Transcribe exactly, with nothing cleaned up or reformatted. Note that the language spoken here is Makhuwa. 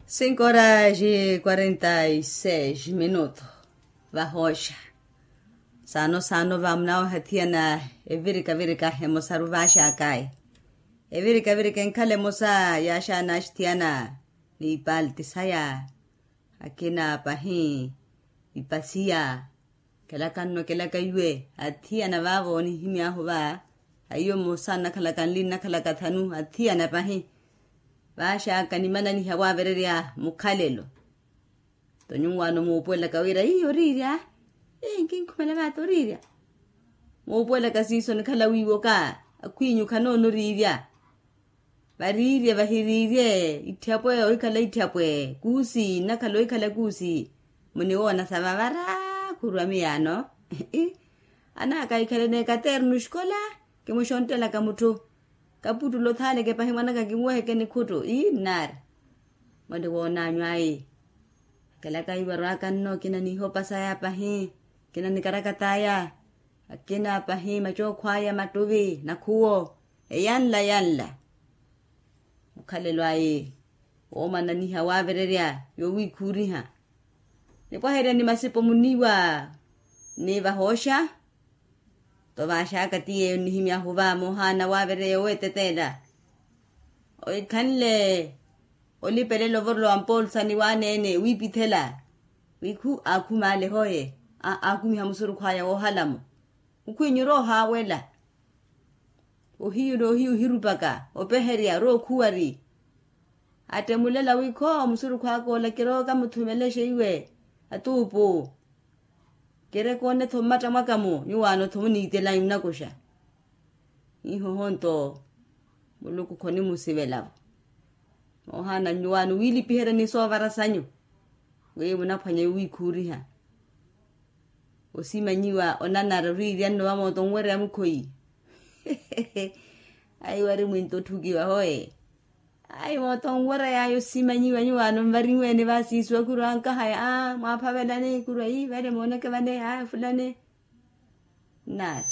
Cinco horas e quarenta e seis minutos. Vahooxa. Saano saano vamunaawe hathiyana evirikavirika emosaru vaaxakaya. Evirikavirika enkhala emosa yaaxana axithiyana. Ni ipalti saya. Akina pahi. Ipasiya. Kelakanno kelaka iwe athiyana vaavo onihimy'ahu va. Aiyo mmosa nnakhalaka nli nnakhalaka thanu athiyana pahi. Vaaxaka nimananiha waavererya mukhalelo. Nto nyuwaano muupuwelaka wira ii oriirya. Ii nkinkhumela vaata oriirya. Muupuwelaka siiso nikhala wiiwoka. Akhwinyu khanoona oriirya. Variirye vahiriirye. Itthapwe ohikhala itthapwe kuusi nnakhala ohikhala kuusi. Muniwoona sa vavara khurwa miyaano. Anaaka ahikhalene katernu xikola. Kimuxonttelaka mutthu. Kaputtulo thaaleke pahi mwanaka kinweheke nikhuttu ii nnaari. Mwalle woonanyu ayi. Akelaka ivarwaka nno kina nihopa saya pahi. Kina nikarakataya. Akina pahi macookho aya mattuvi nakhuwo. Eyanla yanla. Mukhalelo ayi. Woomananiha waavererya yowiikhuuriha. Nipwaherya ni masipo muniiwa. Ni vahooxa. Nto vaaxaka ti yeeyo nnihimy'ahu va moohaana waavereya oweeteteela. Oikhanle olipelela ovorolo wa mpoolsa ni waaneene wiipithela. Wi khu aakhumaale hoye. Aakumiha musurukhu aya woohala-mo. Mukhwinyu ori ohaawela. Ohiyu n'ohiyu ohirupaka opeherya ori okhuwari. Attemulela wi khoo musurukhu aka ola kirooka muthumelexe iwe. Atuupu. Kiri koone-tho mmatta mwaka-mo nyuwaano-tho muniitelanyu nnakuxa. Ihoho nto muluku khonimusivela-vo. Moohaana nyuwaano wiilipiherya ni soovara sanyu. Wi munaphwanya yowiikhuuriha. Osimanyiwa onanara oriirya nno vamooto nwereya mukhoyi. Ayi wari mwinto otthukiwa hoye. Ayi mooto nwereyaya osimanyiwa nyuwaano nvarinweene vaasiisuwa khurwa nkahaya aa mwaaphavelani khurwa ii vale mooneke vane aa fulani. Nnaari.